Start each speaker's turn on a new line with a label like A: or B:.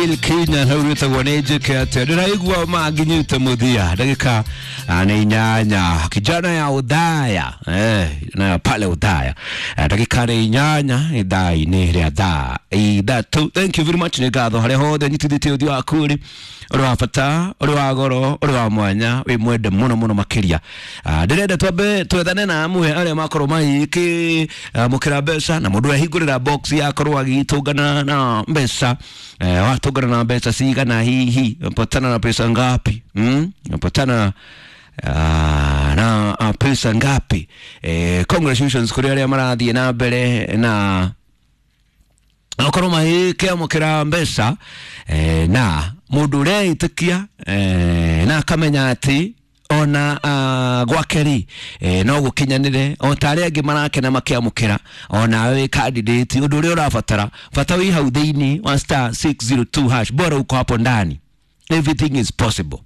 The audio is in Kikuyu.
A: Bill Kinya hau wĩtagwo nĩ njĩke atĩa. Ndĩraigua manginyĩte mũthia ndagĩka nĩ 8, kijana ya Udhaya, na pale Udhaya. Ndagĩka nĩ 8 ithaa-inĩ rĩa thaa 3. Thank you very much, nĩ ngatho harĩa hothe nyitithĩtie ũthiũ waku rĩ, ũrĩ wa bata, ũrĩ wa goro, ũrĩ wa mwanya, wĩ mwende mũno mũno makĩria. Ndĩrenda twambe twethane na amwe arĩa makorwo magĩkĩ mũkĩra mbeca, na mũndũ ehingũrĩra box yakorwo agĩtũngana na mbeca. Watũngana na mbeca cigana? Hihi patana na pesa ngapi? Patana na pesa ngapi? Congratulations kũrĩ arĩa marathiĩ na mbere na okorwo magĩkĩamũkĩra mbeca, na mũndũ ũreĩtĩkia na akamenya atĩ ona gwake rĩ, no gũkinyanĩre o ta arĩa angĩ marakena makĩamũkĩra, ona wĩ candidate. Ũndũ ũrĩa ũrabatara bata wĩ hau thĩinĩ wa *602#, bora uko hapo ndani, everything is possible.